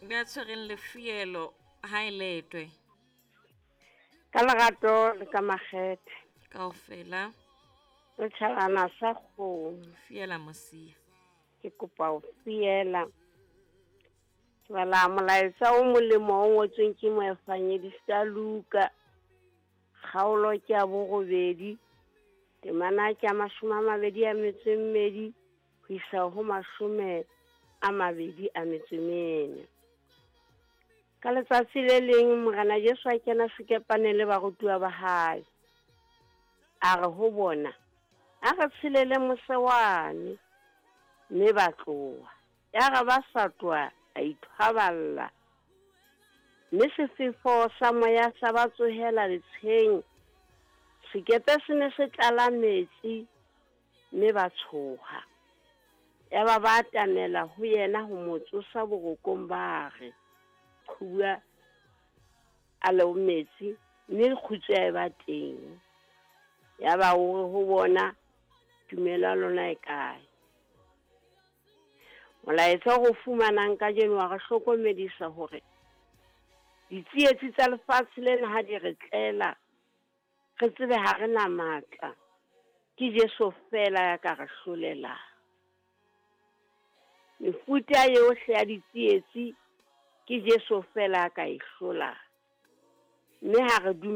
Ya tshwereng lefielo ha e letwe. Ka lerato le ka makgethe. Kaofela. Re tjhabana sa kgomo. Fiela mosia. Ke kopa ho fiela. Ke bala molaetsa o molemo o ngotsweng ke moefangedista Luka. Kgaolo ke ya borobedi. Temana ke ya 22 ho isa ho 24. Ka letsatsi le leng Morena Jesu a kena sekepaneng le barutuwa ba hae. A re ho bona, a re tshelele mose wane, mme ba tloha. Ya re ba sa tloha, a ithwaballa. Mme sefefo sa moya sa ba tsohela letsheng. Sekepe se ne se tlala metsi, mme ba tshoha. Yaba ba atamela ho yena ho mo tsosa borokong, ba re, qhuba a le metsi, mme kgutso ya eba teng. Yaba o re ho bona, tumelo ya lona e kae? Molaetsa o re fumanang kajeno wa re hlokomedisa hore ditsietsi tsa lefatshe lena ha di re tlela, re tsebe ha re na matla. Ke Jesu fela ya ka re hlolelang. Mefuta yohle ya ditsietsi ke Jesu fela ya ka e hlolang. Mme ha re